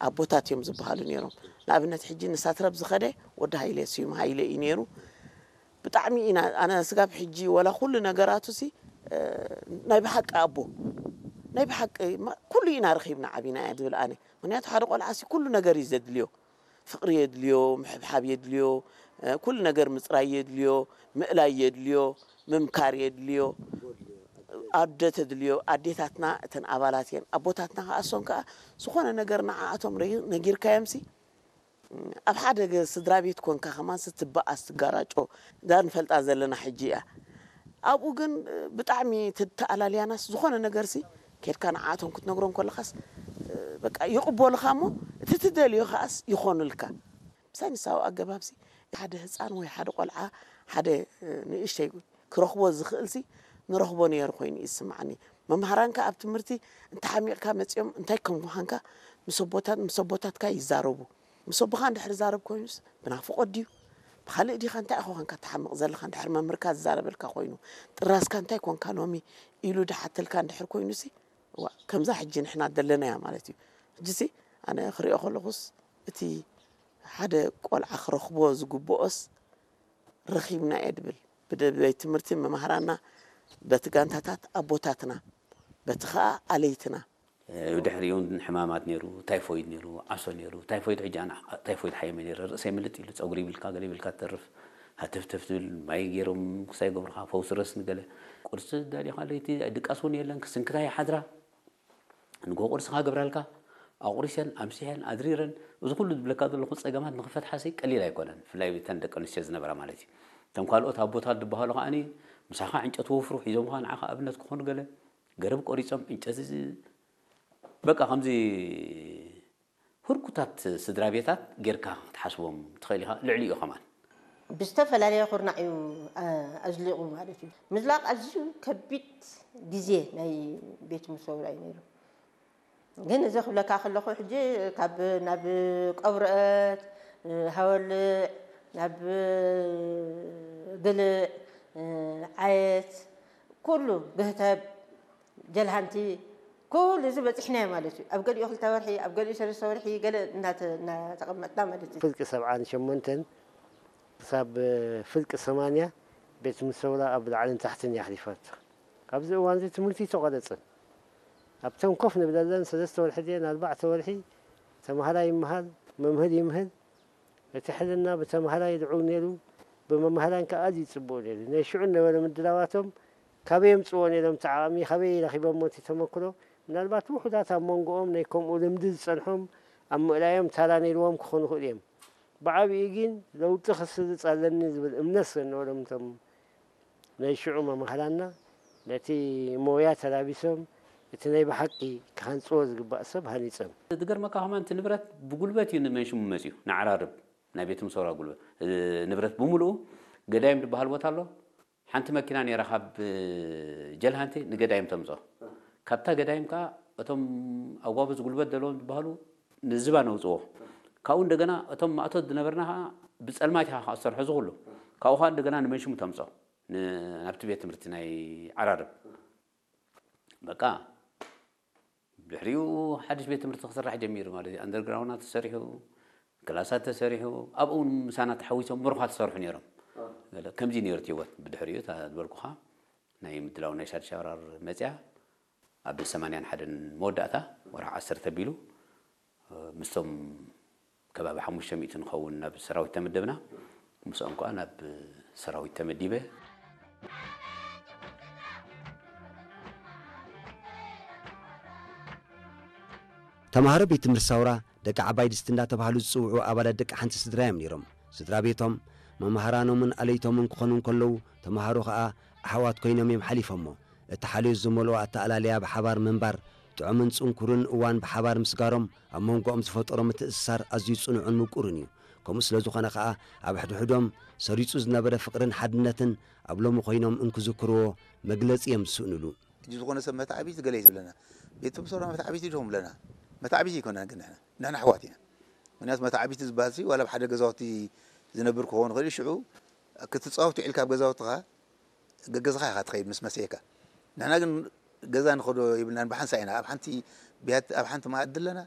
ኣቦታት እዮም ዝበሃሉ ነይሮም። ንኣብነት ሕጂ ንሳትረብ ዝኸደ ወዲ ሃይለ፣ ስዩም ሃይለ እዩ ነይሩ። ብጣዕሚ ኢና፣ ኣነ ስጋብ ሕጂ ወላ ኩሉ ነገራቱ ሲ ናይ ብሓቂ ኣቦ፣ ናይ ብሓቂ ኩሉ ኢና ረኺብና ዓቢና እያ ዝብል ኣነ። ምክንያቱ ሓደ ቆልዓ ሲ ኩሉ ነገር እዩ ዘድልዮ። ፍቕሪ የድልዮ፣ ምሕብሓብ የድልዮ፣ ኩሉ ነገር ምፅራይ የድልዮ፣ ምእላይ የድልዮ፣ ምምካር የድልዮ። ኣደ ተድልዮ፣ ኣዴታትና እተን ኣባላት እየን። ኣቦታትና ከዓ እሶም ከዓ ዝኾነ ነገር ንዓኣቶም ነጊርካዮም ሲ ኣብ ሓደ ስድራ ቤት ኮንካ ከማን ስትበኣስ ትጋራጮ እዛ ንፈልጣ ዘለና ሕጂ እያ። ኣብኡ ግን ብጣዕሚ ተኣላልያናስ ዝኾነ ነገርሲ ከድካ ንዓቶም ክትነግሮም ከለኻስ በቃ ይቕበሉኻ እሞ እቲ ትደልዮ ከኣስ ይኾኑልካ። ብሳይንሳዊ ኣገባብሲ ሓደ ህፃን ወይ ሓደ ቆልዓ ሓደ ንእሽተይ ክረኽቦ ዝኽእልሲ ንረኽቦ ነይሩ ኮይኑ እዩ ዝስምዓኒ። መምሃራንካ ኣብ ትምህርቲ እንተሓሚቕካ መፂኦም እንታይ ከም ምዃንካ ምስ ኣቦታት ምስ ኣቦታትካ ይዛረቡ። ምስ ኣቦኻ እንድሕር ዛረብ ኮይኑስ ብናፍቖት ድዩ ብኻልእ ዲኻ እንታይ ኢኻ ኮንካ ትሓምቕ ዘለኻ? እንድሕር መምህርካ ዝዛረበልካ ኮይኑ ጥራዝካ እንታይ ኮንካ ሎሚ ኢሉ ድሓተልካ እንድሕር ኮይኑሲ እዋ ከምዛ ሕጂ ንሕና ዘለናያ ማለት እዩ። ሕጂሲ ኣነ ክሪኦ ከለኹስ እቲ ሓደ ቆልዓ ክረኽቦ ዝግብኦስ ረኺብና እየ ድብል። ብቤት ትምህርቲ መማህራና፣ በቲ ጋንታታት ኣቦታትና፣ በቲ ኸኣ ኣለይትና። ብድሕሪኡ እውን ሕማማት ነይሩ፣ ታይፎይድ ነይሩ፣ ዓሶ ነይሩ። ታይፎይድ ሕጂ ኣነ ታይፎይድ ሓየመ ነይረ፣ ርእሰይ ምልጥ ኢሉ፣ ጸጉሪ ይብልካ፣ ገለ ይብልካ ትተርፍ። ሃተፍተፍ ትብል፣ ማይ ገይሮም ክሳይ ገብርኻ፣ ፈውሲ ረስኒ ገለ። ቁርሲ ዳሊኻ ለይቲ ድቃስ እውን የለን፣ ክስንክታ ይሓድራ። ንግሆ ቁርሲ ክገብራልካ ኣቑሪሰን ኣምሲሐን ኣድሪረን እዚ ኩሉ ዝብለካ ዘለኹ ጸገማት ንኽፈትሓሲ ቀሊል ኣይኮነን። ብፍላይ እተን ደቂ ኣንስትዮ ዝነበራ ማለት እዩ። እቶም ካልኦት ኣቦታት ዝበሃሉ ከዓኒ ምሳኻ ዕንጨት ወፍሩ ሒዞምኻ ንዓኻ ኣብነት ክኾኑ ገለ ገረብ ቆሪጾም ዕንጨት እዚ በቃ ከምዚ ህርኩታት ስድራ ቤታት ጌርካ ክትሓስቦም ትኽእል ኢኻ። ልዕሊኡ ከማን ብዝተፈላለየ ኩርናዕ እዩ ኣዝሊቑ ማለት እዩ። ምዝላቕ ኣዝዩ ከቢድ ግዜ ናይ ቤት ሙሰውራ እዩ ነይሩ። ግን እዚ ክብለካ ከለኹ ሕጂ ካብ ናብ ቀብረአት ሃወልዕ ናብ ግልዕ ዓየት ኩሉ ግህተብ ጀልሃንቲ ኩሉ እዚ በፂሕናዮ ማለት እዩ። ኣብ ገሊኡ ክልተ ወርሒ ኣብ ገሊኡ ሰለስተ ወርሒ ገለ እናተቐመጥና ማለት እዩ። ፍርቂ ሰብዓን ሸሞንተን ክሳብ ፍርቂ ሰማንያ ቤት ሙሰውራ ኣብ ላዕልን ታሕትን እያ ኣሕሊፋቶ። ኣብዚ እዋን እዚ ትምህርቲ ኣይተቋረፀን። ኣብተን ኮፍ ንብለለን ሰለስተ ወርሒ ድየን ኣርባዕተ ወርሒ ተምሃራይ ይምሃር፣ መምህር ይምህር። እቲ ሕልና ብተምሃራይ ልዑል ነይሩ፣ ብመምሃራን ከኣ ኣዝዩ ጽቡቕ ነይሩ። ናይ ሽዑ ዝነበረ ምድላዋቶም ካበይ የምጽእዎ ነይሮም እቲ ዓቕሚ፣ ካበይ ረኺቦሞ እቲ ተመክሮ? ምናልባት ውሑዳት ኣብ መንጎኦም ናይ ከምኡ ልምዲ ዝጸንሖም ኣብ ምእላዮም ታራ ነይርዎም ክኾኑ ይኽእሉ እዮም። ብዓቢኡ ግን ለውጢ ክስርጽ ኣለኒ ዝብል እምነት ስለዝነበሮም እቶም ናይ ሽዑ መማህራንና ነቲ ሞያ ተላቢሶም እቲ ናይ ብሓቂ ክሃንጽዎ ዝግባእ ሰብ ሃኒጾም። ዝገርመካ ከማን እቲ ንብረት ብጉልበት እዩ ንመንሽሙ መጺኡ ንዓራርብ ናይ ቤት ምሰውራ ጉልበት ንብረት ብምልኡ ገዳይም ዝበሃል ቦታ ኣሎ። ሓንቲ መኪና ነይራ ካብ ጀልሃንቲ ንገዳይም ተምጾ። ካብታ ገዳይም ከኣ እቶም ኣጓብዝ ጉልበት ዘለዎም ዝበሃሉ ንዝባ ነውጽዎ። ካብኡ እንደገና እቶም ማእቶት ዝነበርና ከኣ ብጸልማት ኢኻ ከኣ ዝሰርሖ ዝኹሉ። ካብኡ ከኣ እንደገና ንመንሽሙ ተምጾ። ናብቲ ቤት ትምህርቲ ናይ ዓራርብ በቃ ድሕሪኡ ሓድሽ ቤት ትምህርቲ ክስራሕ ጀሚሩ ማለት እዩ። ኣንደርግራውንድ ተሰሪሑ፣ ክላሳት ተሰሪሑ፣ ኣብኡ እውን ምሳና ተሓዊሶም ምሩኻት ዝሰርሑ ነይሮም። ገለ ከምዚ ነይሩ እቲ ህይወት። ብድሕሪኡ እታ ዝበልኩኻ ናይ ምድላው ናይ ሳድሻ ወራር መፅያ ኣብ ሰማንያን ሓደን መወዳእታ ወርሒ ዓሰርተ ኣቢሉ ምስቶም ከባቢ ሓሙሽተ ሚእቲ ንኸውን ናብ ሰራዊት ተመደብና። ምስኦም ከኣ ናብ ሰራዊት ተመዲበ። ተማሃሮ ቤት ትምህርቲ ሳውራ ደቂ ዓባይ ድስቲ እንዳተባህሉ ዝጽውዑ ኣባላት ደቂ ሓንቲ ስድራ እዮም ነይሮም። ስድራ ቤቶም፣ መማህራኖምን ኣለይቶምን ክኾኑ እንከለዉ፣ ተማሃሮ ከኣ ኣሕዋት ኮይኖም እዮም ሓሊፎሞ። እቲ ሓልዮት ዝመልኦ ኣተኣላልያ ብሓባር ምንባር፣ ጥዑምን ጽንኩርን እዋን ብሓባር ምስጋሮም ኣብ መንጎኦም ዝፈጠሮ ምትእስሳር ኣዝዩ ጽኑዕን ምቁርን እዩ። ከምኡ ስለ ዝኾነ ከኣ ኣብ ሕድሕዶም ሰሪጹ ዝነበረ ፍቕርን ሓድነትን ኣብ ሎሚ ኮይኖም እንክዝክርዎ መግለጺ እዮም ዝስእንሉ። ሕጂ ዝኾነ ሰብ መታዕቢቲ ገለ እዩ ዝብለና። ቤት ትምህርቲ ሰውራ መታዕቢቲ ዲኹም ብለና። መታዕቢቲ ኣይኮናን ግን ንሕና። ንሕና ኣሕዋት ኢና። ምክንያቱ መታዕቢቲ ዝበሃል ሲ ዋላ ኣብ ሓደ ገዛውቲ ዝነብር ክኸውን ይኽእል እዩ። ሽዑ ክትፃወት ውዒልካ ኣብ ገዛውትኻ ገገዛኻ ኢኻ ትኸይድ ምስ መሰየካ። ንሕና ግን ገዛ ንኸዶ ይብልናን ብሓንሳእ ኢና ኣብ ሓንቲ ብያቲ ኣብ ሓንቲ መኣዲ ኣለና።